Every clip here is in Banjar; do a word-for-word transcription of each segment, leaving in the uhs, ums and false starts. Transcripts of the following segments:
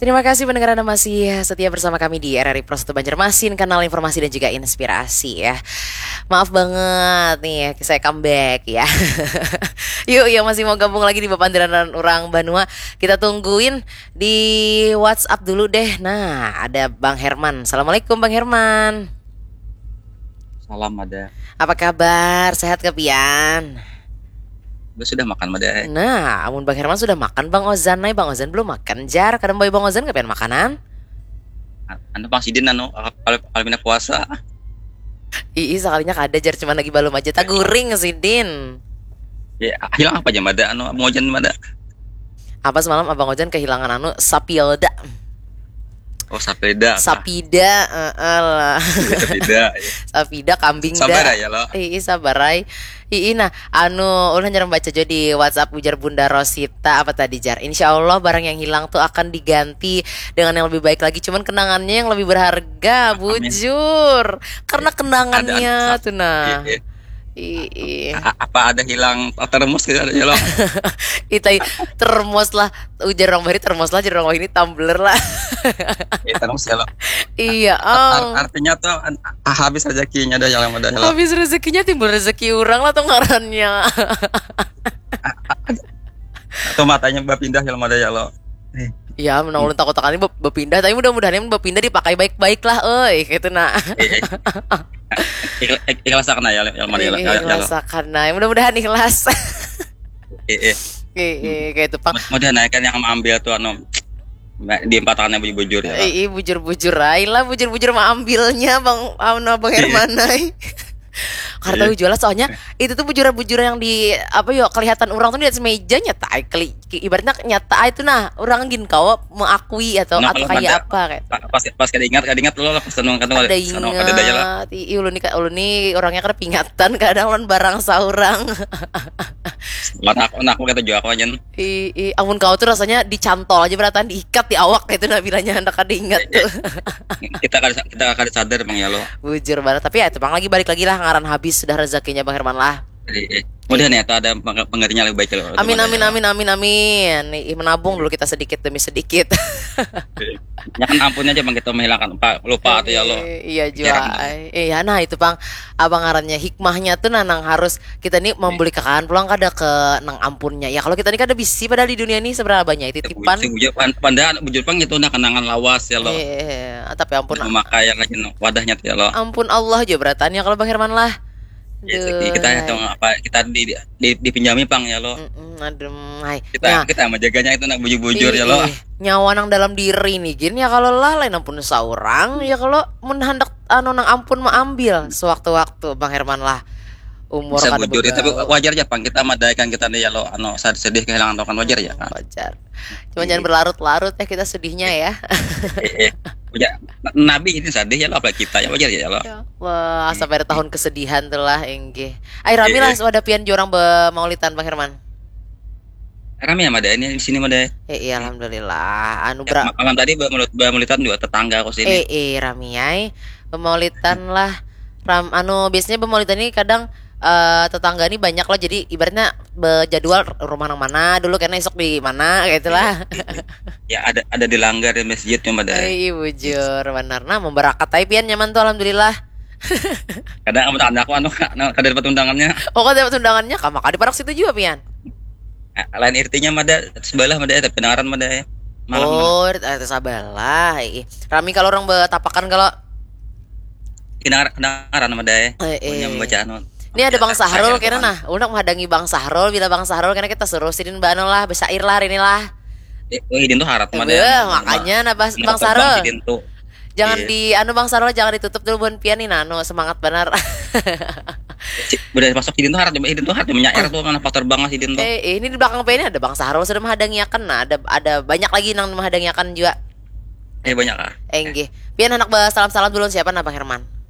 Terima kasih pendengar Anda masih setia bersama kami di R R I Pro satu Banjarmasin, kanal informasi dan juga inspirasi ya. Maaf banget nih, saya comeback ya. Yuk, yang masih mau gabung lagi di Bapandiran Urang Banua, kita tungguin di WhatsApp dulu deh. Nah, ada Bang Herman. Assalamualaikum Bang Herman. Salam ada. Apa kabar? Sehat ke pian? Gue sudah makan mada. Nah, amun Bang Herman sudah makan, Bang Ozan nai, Bang Ozan belum makan jar. Kadang bawa Bang Ozan ke pian makanan? Anu Bang Sidin anu kalau kalau pindah puasa. Ii, sekalinya kada jar, cuman lagi balum aja taguring Sidin. Ya, hilang apa aja mada anu Bang Ozan mada? Apa semalam Abang Ozan kehilangan anu sapilda? Oh, sapeda. Sapida, heeh lah. Sapeda. Sapida kambing Sabar dah. Ya lo. Ii, sabar ai. Ii, nah, anu, ulun hanya baca jo di WhatsApp ujar Bunda Rosita apa tadi jar. Insya Allah barang yang hilang tuh akan diganti dengan yang lebih baik lagi. Cuman kenangannya yang lebih berharga, Amin. Bujur. Karena kenangannya Ada- tuh nah. Iya, iya. Ii. A- apa ada hilang termos gitu ada ya lo? Itai termos lah, ujar orang bahari termos lah, ujar orang ini tumbler lah. Ya, termos ya lo. Iya, Ar- ang. artinya tuh an- habis rezekinya ada yang ada ya lo. Habis rezekinya timbul rezeki orang lah tuh ngarannya. Tuh matanya berpindah ya lo ada ya lo. Ya, menang ulun takut takani bep- berpindah, tapi mudah-mudahan yang berpindah dipakai baik-baik lah, oi, gitu nah. Eh, eh. Ikhlas karena ya lo ya lo ada ya lo. Ih, Ya, ya lo. Ikhlas karena mudah-mudahan ikhlas. Eh, eh. Ih, ih, kayak itu pang. Mudah naik kan yang ambil tuh anu di empat tangannya bujur-bujur ya. Ih, ih, bujur-bujur aja lah, bujur-bujur mah ambilnya bang, anu bang Iya. Herman ai. Karena Iya. Tahu jual lah, soalnya itu tuh bujur-bujur yang di apa yo, kelihatan orang tuh di atas meja nyata ai, keli- ibaratnya nyata ai itu nah, orang gin kawa mengakui atau Nah, atau kalau kayak kada- apa kayak. Pas pas kada ingat kada ingat lo pas anu kan Ada anu kada ada ya lah. Ingat. Ih, ulun ni ulun ni orangnya kada pingatan kadang lawan barang saurang. Anak anak aku kata juga aku aja. Ih, ih, amun kau tuh rasanya dicantol aja berataan, diikat di awak gitu nah bilanya hendak kada ingat tuh. Kita kada kita kada sadar bang ya lo. Bujur banget, tapi ya itu pang lagi balik lagi lah, ngaran habis sudah rezekinya bang Herman lah. Jadi, eh, mudah nih atau ada peng- penggantinya lebih baik lo. Amin amin amin amin amin. Ih, menabung dulu kita sedikit demi sedikit. Ya kan ampun aja bang kita menghilangkan lupa, lupa atau ya lo. Eh, iya juga. Jarang. Ai. Iya nah itu pang abang ngarannya hikmahnya tuh nah nang harus kita nih membeli kakaan pulang kada ke nang ampunnya. Ya kalau kita nih kada bisi padahal di dunia ini seberapa banyak titipan. Si bujur pan- padahal bujur pang itu nah kenangan lawas ya lo. Eh, tapi ampun Memakai yang rajin wadahnya tuh ya lo. Ampun Allah aja beratannya kalau Bang Herman lah. Ya, jadi kita Duh, itu apa kita di, di dipinjami pang ya lo. Mm-mm, adem, hai. Kita Nah, kita menjaganya itu nak bujur-bujur ya lo. Ih, nyawa nang dalam diri nih gin ya kalau lah lain ampun seorang ya kalau mun handak anu nang ampun maambil sewaktu-waktu Bang Herman lah umur Bisa kada bujur ya, tapi begaul. Wajar aja pang kita madaikan kita nih ya lo anu sad- sedih kehilangan lo kan wajar ya. Wajar. Cuma Iya. Jangan berlarut-larut ya kita sedihnya ya. Eh, eh. Punya na- nabi ini sedih ya lo apalagi kita ya wajar ya lo. Ya Allah, sampai ada tahun kesedihan tuh lah, inggih. Ai rami lah Iya. Sudah pian jurang bemaulitan Bang Herman. Rame ya mada ini di sini mada. Eh iya alhamdulillah. Anu Ya, bra ma- malam tadi bermulut bermulitan juga tetangga aku sini. Eh eh rami ai. Bemaulitan lah. Ram anu biasanya bemaulitan ini kadang eh, tetangga ini banyak lah, jadi ibaratnya bejadwal rumah nang mana dulu karena esok di mana kayak itulah. Ya ada ada di langgar di masjid cuma ada. Eh iya bujur benar. Nah memberakat ai pian nyaman tuh alhamdulillah. Kadang aku anak aku anu anu, kada dapat undangannya. Oh kau dapat undangannya kah maka di parak situ juga pian. Eh, Lain irtinya mada sebelah mada tapi dengaran mada ya. Malam. Oh, itu sabalah. Ih, rami kalau orang betapakan kalau Kedengar- Kedengaran mada ya. Eh, eh. Punya membaca anu. Ini ada Bang Saya- Sahrul saya kena kan. Nah, ulun menghadangi Bang Sahrul, bila Bang Sahrul kena kita suruh sidin bano lah, besair lah hari ini lah. Eh, oh, hidin tuh harat mada. Beuh, makanya nah Bas- Bang Sahrul. Hidin tuh. Jangan Iya. di anu Bang Sahrul jangan ditutup dulu buhan pian nih nano semangat benar. Si- Udah masuk hidin tuh harat, hidin tuh harat menyair tuh mana faktor banget hidin tuh. Eh, eh, ini di belakang pian ini ada Bang Sahrul sudah menghadangiakan. Nah, ada ada banyak lagi nang menghadangiakan juga. Eh banyak lah. Eh, nggih. Pian anak salam-salam dulu siapa nah Bang Herman?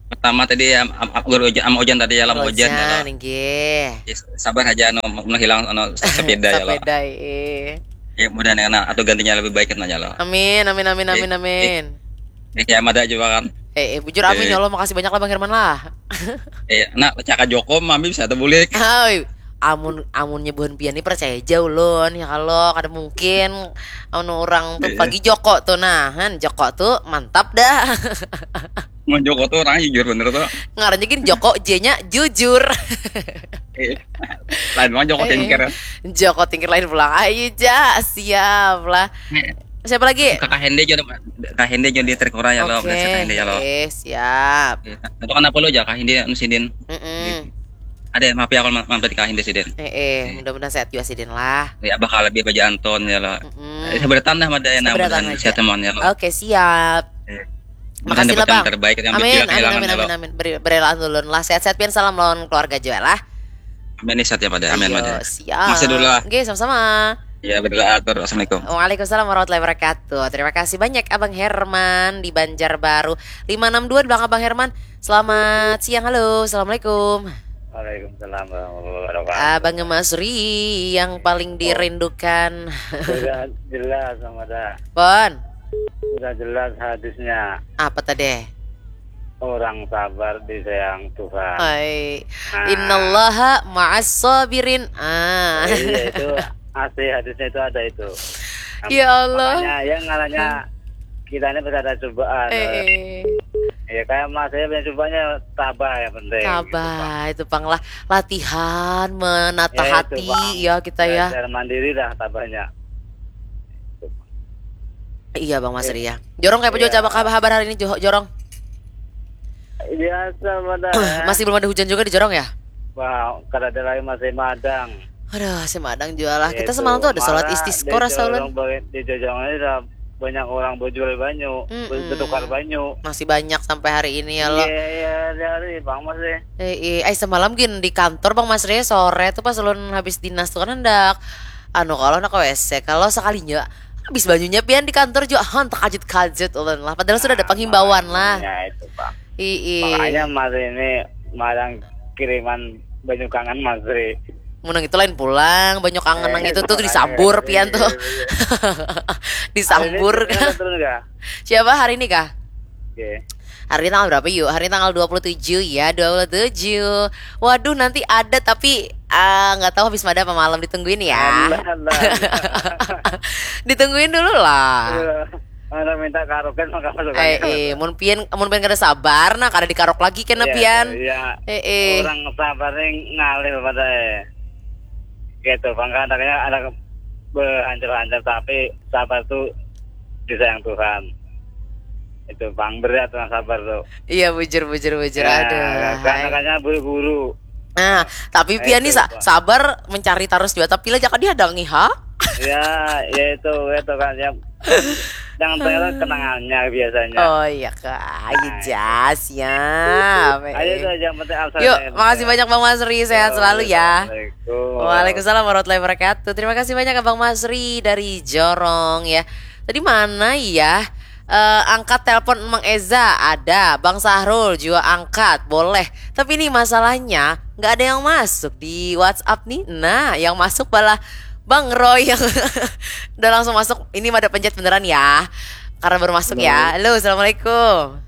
Pertama tadi am, am, am, guru Ojan, am Ojan tadi ya lam Ojan ya. Ojan, nggih. Ya, sabar aja anu mun hilang anu sepeda ya lo. Sepeda, eh. Ya mudah nih atau gantinya lebih baik kan aja lo. Amin, amin, amin, amin, amin. Ya kayak mada juga kan. Eh, eh, bujur amin Eh. Ya Allah, makasih banyak lah Bang Herman lah. Eh, nak cakap Joko mami bisa tuh bulik. Hai, Amun amunnya buhan pian ni percaya aja ulun ya kalau kada mungkin anu orang tuh pagi Joko tuh nah kan Joko tuh mantap dah. Mun Joko tuh orangnya jujur bener tuh. Ngarannya gini Joko J-nya jujur. Eh, lain mah Joko Eh, tingkir. Joko tingkir lain pulang. Ayo ja, siap lah. Siapa lagi? Kakak Hende aja, Kak Hende aja di trik orang ya lo, Oke, Kakak Hende ya lo. Eh, siap. Itu kenapa lo aja Kak Hende anu sidin? Mm-mm. Ada maaf ya kalau mampir di Kak Hende sidin. Eh, eh, mudah-mudahan sehat juga sidin lah. Ya bakal lebih baca Anton ya lo. Mm-mm. Eh, seberatan dah mada ya Seberatan nama aja. Siatemon ya lo. Oke, siap. Mudahan Makasih dapat lah, yang Bang. Terbaik yang Amin, dipilih amin, kehilangan amin, ya lo. Amin, amin. Beri, berilah ulun lah. Sehat-sehat pian salam lawan keluarga juga lah. Amin nih sehat ya pada. Amin Ayo, pada. Siap. Masih dulu lah. Oke, sama-sama. Ya berdoa atur. Assalamualaikum. Waalaikumsalam warahmatullahi wabarakatuh. Terima kasih banyak Abang Herman di Banjarbaru. Lima enam dua di belakang Abang Herman. Selamat siang, halo. Assalamualaikum. Waalaikumsalam warahmatullahi wabarakatuh. Abang Masri yang paling dirindukan. Sudah jelas sama dah. Pon, Sudah jelas hadisnya. Apa tadi? Orang sabar disayang Tuhan. Hai. Nah. Innallaha ma'as sabirin. Ah. Iya itu asli hadisnya itu ada itu. Ya Allah. Makanya yang ngaranya kita ini pasti ada cobaan. Eh, eh. Ya kayak Mas saya punya cobanya tabah yang penting. Tabah itu pang lah latihan menata Ya, itu, hati Bang. Ya kita ya. Belajar mandiri dah tabahnya. Iya Bang Masri ya. Jorong kayak apa juga Iya. coba kabar hari ini Jo- Jorong? Biasa pada. Masih belum ada hujan juga di Jorong ya? Wah, kada ada lagi masih madang. Aduh, si madang juga lah. Kita Itu, semalam tuh ada sholat malah istisqo rasa dijorong ulun. bagi- Dijorong aja banyak orang berjual banyu, Mm-mm. bertukar banyu. Masih banyak sampai hari ini ya lo. Iya, iya, hari-hari Bang Mas deh. Eh, eh, eh, semalam gin di kantor Bang Masri sore tuh pas ulun habis dinas tuh kan hendak anu kalau nak ke W C kalau sekalinya habis banyunya pian di kantor juga han terkajut-kajut ulun lah padahal sudah ada penghimbauan lah. Ya itu Bang. Ii. Makanya Mas ini malah kiriman banyu kangen Mas Ri. Mun nang itu lain pulang, banyu kangen nang Eh, itu tuh makanya, disambur pian tuh. iya, iya. Disambur. Hari ini turun kah? Siapa hari ini kah? Oke. Hari ini tanggal berapa yuk? Hari ini tanggal dua puluh tujuh ya, dua puluh tujuh. Waduh nanti ada tapi ah, nggak tahu habis mada apa malam ditungguin ya. Alah, alah. Ditungguin dulu lah. Iya. Mana minta karaoke maka masuk Eh, eh, mun pian mun pian kada sabar nah kada dikarok lagi kena Iya, pian. Iya. Eh, eh. Orang sabar nih ngalih pada eh. Gitu, Bang kadangnya ada berhancur-hancur tapi sabar tuh disayang Tuhan. Itu Bang berat orang sabar tuh. Iya bujur bujur bujur. Ya, Aduh. karena Hai. Katanya buru-buru. Nah, tapi Nah, pian nih itu, sa- Pak. sabar mencari terus juga tapi lah jangan dihadangi ha. Ya, ya itu itu kan ya. Yang ternyata kenangannya biasanya. Oh iya kak, ayo Nah, jas ya. Ayo tuh yang penting absen Yuk, aja. makasih banyak Bang Masri, sehat selalu ya. Assalamualaikum. Waalaikumsalam warahmatullahi wabarakatuh. Terima kasih banyak Abang Masri dari Jorong ya. Tadi mana ya? Eh, angkat telepon Emang Eza ada, Bang Sahrul juga angkat, boleh. Tapi ini masalahnya nggak ada yang masuk di WhatsApp nih. Nah, yang masuk malah Bang Roy yang udah langsung masuk. Ini mada pencet beneran ya, karena baru masuk ya. Halo, assalamualaikum.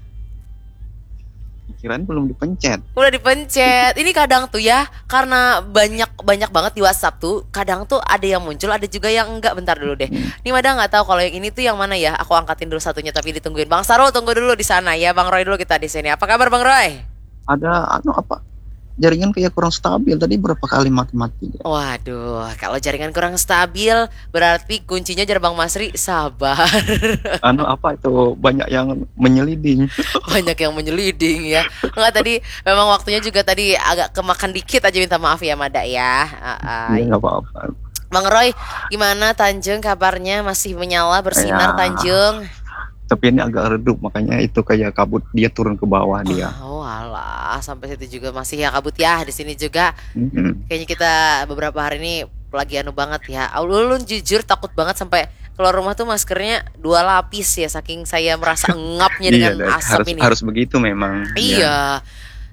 Pikiran belum dipencet. Udah dipencet. Ini kadang tuh ya, karena banyak banyak banget di WhatsApp tuh, kadang tuh ada yang muncul, ada juga yang enggak. Bentar dulu deh. Ini mada nggak tahu kalau yang ini tuh yang mana ya. Aku angkatin dulu satunya tapi ditungguin. Bang Sarul tunggu dulu di sana ya. Bang Roy dulu kita di sini. Apa kabar Bang Roy? Ada anu apa? Jaringan kayak kurang stabil tadi berapa kali mati-mati. Waduh, kalau jaringan kurang stabil berarti kuncinya jar Bang Masri sabar. Anu apa itu banyak yang menyeliding. Banyak yang menyeliding ya. Enggak tadi memang waktunya juga tadi agak kemakan dikit aja minta maaf ya Mada ya. Ah, ah. Iya nggak apa-apa. Bang Roy, gimana Tanjung kabarnya? Masih menyala bersinar Ya. Tanjung? Tapi ini agak redup makanya itu kayak kabut dia turun ke bawah dia. Oh alah, sampai situ juga masih ya kabut ya di sini juga. Mm-mm. Kayaknya kita beberapa hari ini lagi anu banget ya. Ulun jujur takut banget sampai keluar rumah tuh maskernya dua lapis ya, saking saya merasa engapnya Iya, dengan dan asap harus ini. Harus begitu memang. Iya.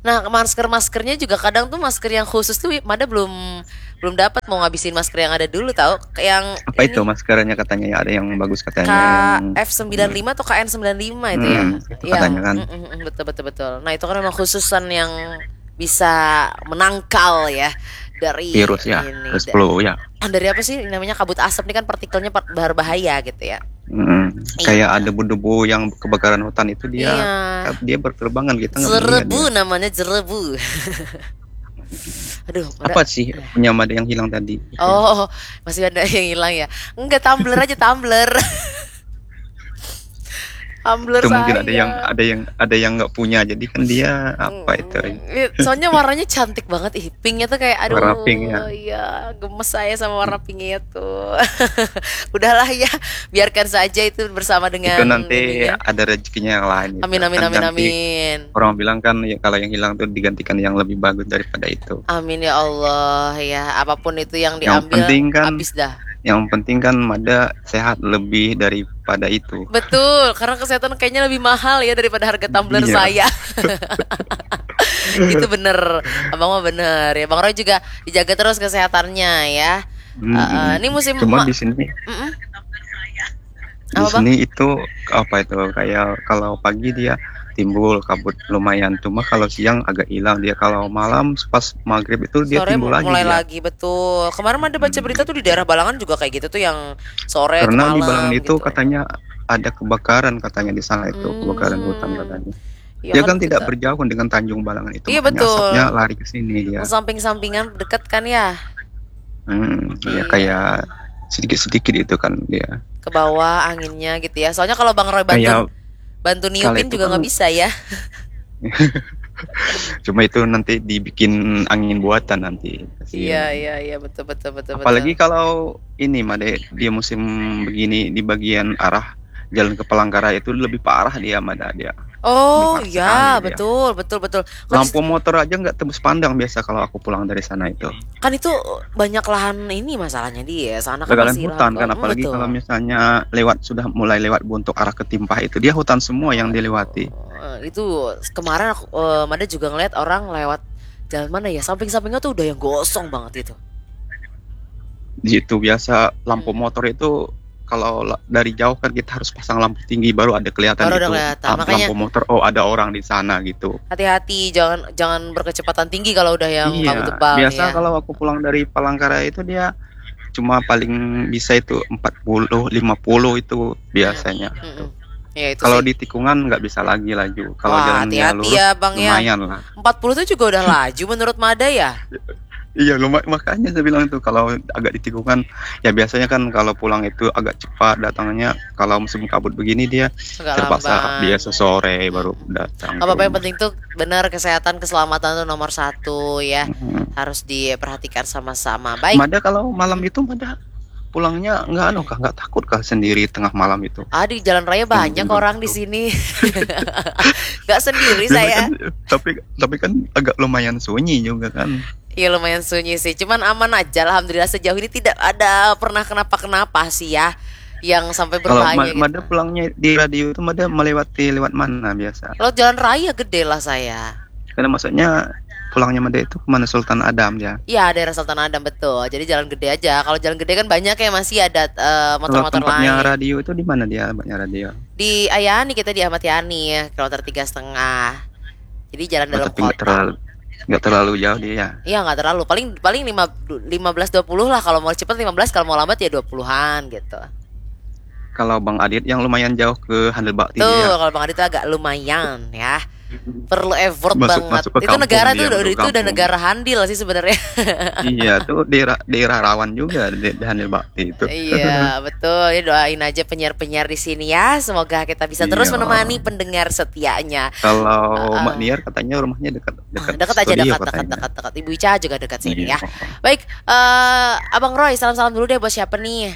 Nah, masker-maskernya juga kadang tuh masker yang khusus tuh Mada belum belum dapat mau ngabisin masker yang ada dulu tahu. Yang Apa itu maskernya katanya ya ada yang bagus katanya yang K F sembilan lima atau K N sembilan lima itu ya. Hmm, itu katanya kan. Mm, mm, mm, betul betul betul. Nah, itu kan memang khususan yang bisa menangkal ya. dari virus ya, ini, virus da- flu ya. Dari apa sih namanya, kabut asap ini kan partikelnya par- berbahaya gitu ya. Mm, Iya. Kayak ada debu-debu yang kebakaran hutan itu dia Iya. dia berterbangan, kita nggak Jerebu melihat dia. Namanya jerebu. Aduh, mana? Apa sih punya Mada yang hilang tadi? Oh, masih ada yang hilang ya? Enggak, tumbler aja, tumbler. Tumbler Itu mungkin saya. Ada yang ada yang ada yang nggak punya, jadi kan dia apa itu? Hmm, iya, soalnya warnanya cantik banget, ih, pinknya tuh kayak, aduh, Warna pink ya. Iya, gemes saya sama warna pinknya tuh. Udahlah ya, biarkan saja itu bersama dengan Itu nanti ininya. Ada rezekinya yang lain itu. Amin, amin, Kan amin, nanti amin. Orang bilang kan ya, kalau yang hilang tuh digantikan yang lebih bagus daripada itu. Amin ya Allah ya. Apapun itu yang Yang diambil, penting kan habis dah. Yang penting kan Mada sehat lebih daripada itu. Betul, karena kesehatan kayaknya lebih mahal ya daripada harga tumbler Iya. Saya. Itu bener, abang mah bener ya. Bang Roy juga dijaga terus kesehatannya ya. Hmm. Eh, eh, ini musim Cuma ma- di sini Mm-mm. di Apa, Bang? Sini itu apa itu, kayak kalau pagi dia timbul kabut lumayan, cuma kalau siang agak hilang dia. Kalau malam pas maghrib itu dia Sore timbul lagi mulai dia. Lagi, betul. Kemarin ada baca berita tuh di daerah Balangan juga kayak gitu tuh, yang sore Karena ke di malam Balangan itu gitu. Katanya ada kebakaran katanya di sana itu, Hmm. kebakaran hutan katanya. Ya Dia kan kan tidak kita- berjauh dengan Tanjung Balangan itu, Iya, makanya betul. Asapnya lari ke sini dia. Samping-sampingan dekat kan ya? Hmm, ya Iya. Kayak sedikit-sedikit itu kan dia. Ke bawah anginnya gitu ya. Soalnya kalau Bang Roy bantu Kayak bantu kalau niupin itu juga kan nggak bisa ya. Cuma itu nanti dibikin angin buatan nanti. Iya, iya, iya, betul, betul, betul, Apalagi betul. Kalau ini Made, dia musim begini di bagian arah jalan ke Palangkaraya itu lebih parah dia, Mada, dia. Oh Lebih parah iya, sekali dia. Betul, betul, betul. Kan Lampu motor aja nggak tembus pandang biasa kalau aku pulang dari sana itu. Kan itu banyak lahan ini masalahnya dia. Sana kan Bakalan masih hutan lahan kan, kosong, apalagi betul. Kalau misalnya lewat, sudah mulai lewat Buntuk arah ke Timpah itu, dia hutan semua yang dilewati. Eh, itu kemarin aku eh, Mada juga ngeliat orang lewat jalan mana ya, samping-sampingnya tuh udah yang gosong banget itu. Di situ biasa lampu Hmm. motor itu kalau la- dari jauh kan kita harus pasang lampu tinggi baru ada kelihatan Baru ada gitu. Kelihatan. Ah, Makanya lampu motor, oh, ada orang di sana gitu. Hati-hati, jangan jangan berkecepatan tinggi kalau udah yang Iya, kabut tebal biasa ya. Kalau aku pulang dari Palangkaraya itu dia cuma paling bisa itu empat puluh, lima puluh itu biasanya. Mm-mm. Ya, itu Kalau sih. Di tikungan nggak bisa lagi laju. Kalau Wah, jalannya hati-hati lurus, ya, Bang, ya. Lumayan lah. Empat puluh tuh juga udah laju menurut Mada ya? Iya, lumayan. Makanya saya bilang tuh kalau agak di tikungan, ya biasanya kan kalau pulang itu agak cepat datangnya. Kalau musim kabut begini dia Agak terpaksa lambat. Biasa sore baru datang. Apa-apa yang penting tuh benar, kesehatan, keselamatan tuh nomor satu ya. Mm-mm. Harus diperhatikan sama-sama. Baik. Mada kalau malam itu Mada pulangnya nggak anu kah, nggak takut kah sendiri tengah malam itu? Ah, di jalan raya banyak Tengah orang di itu. Sini. Nggak sendiri Tapi saya. kan, tapi tapi kan agak lumayan sunyi juga kan. Iya, lumayan sunyi sih. Cuman aman aja, alhamdulillah, sejauh ini tidak ada pernah kenapa-kenapa sih ya. Yang sampai Kalau berbahaya Ma- gitu. Mada pulangnya di radio itu Mada melewati lewat mana biasa? Lewat jalan raya gede lah saya. Karena maksudnya pulangnya Mada itu kemana, Sultan Adam ya? Iya, daerah Sultan Adam, betul. Jadi jalan gede aja. Kalau jalan gede kan banyak ya, masih ada eh, Kalau motor-motor tempatnya lain. Radio itu di mana dia, tempatnya radio? Di Ayani kita di Ahmad Yani ya, kilometer tiga setengah. Jadi jalan Oh, dalam tapi nggak kota. Terlalu nggak terlalu jauh dia ya. Iya, nggak terlalu. Paling paling lima lima belas dua puluh lah, kalau mau cepet lima belas, kalau mau lambat ya dua puluhan gitu. Kalau Bang Adit yang lumayan jauh ke Handil Bakti Tuh, ya. Kalau Bang Adit tuh agak lumayan ya. Perlu effort Masuk- banget. masuk ke Itu kampung negara dia, tuh masuk itu udah kampung. Negara handil sih sebenarnya. Iya, tuh daerah daerah rawan juga di, di Handil Bakti itu. Iya, betul. Ya, doain aja penyiar-penyiar di sini ya. Semoga kita bisa terus Iya. Menemani pendengar setianya. Kalau Heeh. Mak Niar katanya rumahnya dekat dekat Dekat aja, studio dekat, dekat, katanya. dekat, dekat. Ibu Ica juga dekat sini Iya. Ya. Baik, eh, Abang Roy, salam-salam dulu deh buat siapa nih?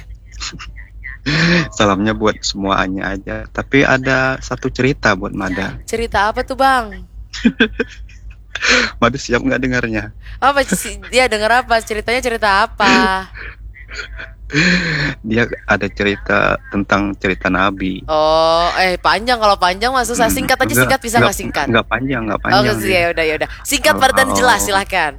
Salamnya buat semuanya aja. Tapi ada satu cerita buat Mada. Cerita apa tuh, Bang? Mada siap nggak dengarnya? Apa sih dia denger apa? Ceritanya cerita apa? Dia ada cerita tentang cerita Nabi. Oh, eh, panjang. Kalau panjang mah susah. Hmm, Singkat aja, enggak, singkat, bisa enggak, nggak singkat? Enggak panjang, enggak Oh, panjang dia. Ya udah, ya udah. Singkat Oh, padat dan oh. Jelas, silahkan.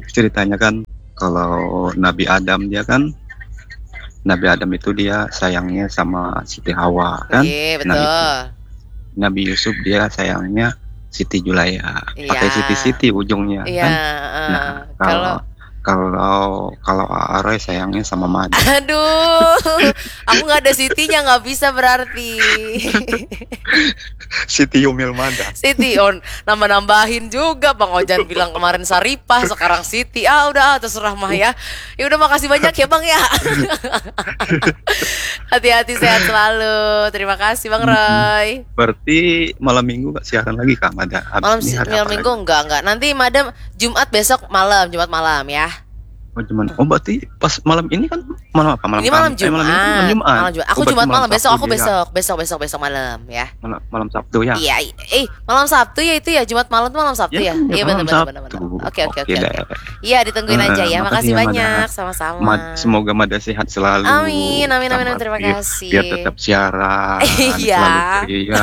Ceritanya kan kalau Nabi Adam dia kan, Nabi Adam itu dia sayangnya sama Siti Hawa kan. Iya, Nah, itu. Betul. Nabi Yusuf dia sayangnya Siti Julaya. Pakai Iya. Siti-Siti ujungnya Iya, kan. eh, Nah, kalau kalau kalau Aaroy sayangnya sama Mada. Aduh, aku nggak ada Sitinya, nggak bisa berarti. Siti Yumil Mada. Siti on nambah-nambahin juga, Bang Ojan bilang kemarin Saripah, sekarang Siti. Ah, udah, ah, terserah mah ya. Ya udah, makasih banyak ya, Bang, ya. Hati-hati, sehat selalu. Terima kasih, Bang Roy. Berarti malam minggu nggak siaran lagi, Kak Mada? Habis Malam ini si- hari malam apa minggu lagi? Enggak, enggak. Nanti Madam Jumat besok malam, Jumat malam ya. Oh, cuman, oh, berarti pas malam ini kan malam apa? Malam Ini malam Kam- eh, malam minggu, Jumat. Malam Jumat. Malam Jumat. Aku Oh, berarti Jumat malam, malam besok aku Sabtu ya. Besok, besok, besok, besok malam ya. Malam, malam Sabtu ya. Iya, i- eh malam Sabtu ya itu ya, Jumat malam tuh malam Sabtu Ya, ya. kan, Iya, malam benar, benar, benar, Sabtu. benar. Oke, oke, oke, Oke oke. deh. Iya, ditungguin Eh, aja ya. makasih Makasih ya, Mada. banyak, sama-sama. Mad- semoga Mada sehat selalu. Amin, amin, amin, Tambah terima aktif. kasih. Biar tetap siaran, Iya. selalu ceria.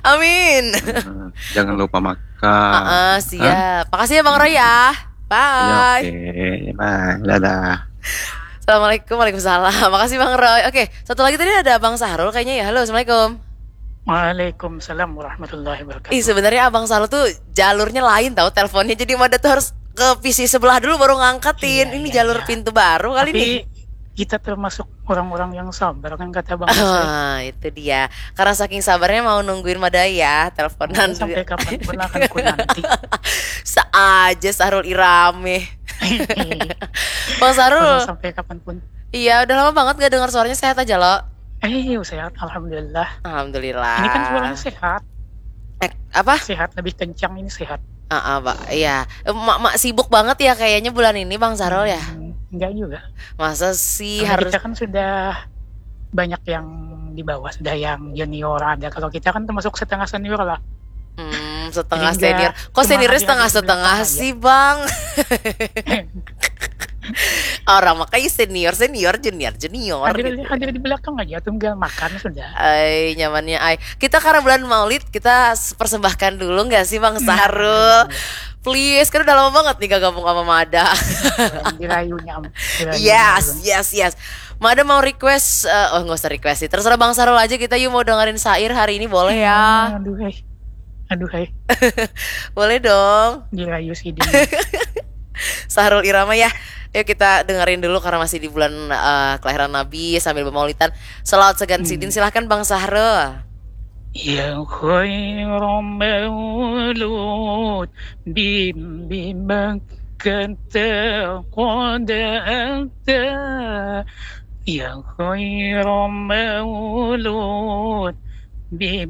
Amin. Eh, Jangan lupa makan. Heeh, siap. Makasih ya, Bang Roy ya. Ya, Bye. Oke, bye. Dadah. Assalamualaikum, waalaikumsalam. Makasih, Bang Roy. Oke, satu lagi tadi ada Bang Sahrul kayaknya ya. Halo, assalamualaikum. Waalaikumsalam warahmatullahi wabarakatuh. Ih, sebenarnya Abang Sahrul tuh jalurnya lain, tahu, teleponnya. Jadi Mada tuh harus ke P C sebelah dulu baru ngangkatin. Iya, Ini iya, jalur iya. pintu baru kali Tapi nih. Kita termasuk orang-orang yang sabar kan, kata Bang Yusuf. Ah, itu dia. Karena saking sabarnya mau nungguin Mada ya, teleponan Sampai dulu. Kapanpun akan ku nanti. Seaja Sahrul Irame. Bang Sahrul. Sampai kapanpun. Iya, udah lama banget gak dengar suaranya. Sehat aja, lo? Eh, sehat, alhamdulillah. Alhamdulillah. Ini kan suaranya sehat. Eh, apa? Sehat, lebih kencang ini, sehat. Ah, ah, Pak. Iya. Eh, Mak, mak sibuk banget ya kayaknya bulan ini, Bang Sahrul, ya. Hmm, enggak juga. Masa sih Karena harus kita kan sudah banyak yang di bawah, sudah yang junior ada. Kalau kita kan termasuk setengah senior lah. Hmm, setengah Jadi enggak senior. Kok cuma seniornya hadir setengah di setengah belakang aja. Sih, Bang? Orang makanya senior, senior, junior, junior Hadir, gitu. Hadir di belakang aja, tinggal makan sudah. Ay, nyamannya ay. Kita karena bulan Maulid, kita s- persembahkan dulu nggak sih, Bang Nah, Sahrul? iya. Please, kan udah lama banget nih gak gabung sama Mada. Dirayunya, am- dirayunya Yes, dulu. Yes, yes. Mada mau request, eh, oh, nggak usah request sih. Terserah Bang Sahrul aja, kita yuk mau dengerin syair hari ini, boleh ya? Aduh, hai. Aduh, hai. Boleh dong. Dirayu sidin. Sahrul Irama ya. Yuk kita dengerin dulu karena masih di bulan, eh, kelahiran Nabi sambil bermaulidan. Salawat sagan sidin, silahkan Bang Sahrul. Ya khaira maulud bimbing kata qad ata. Ya khaira maulud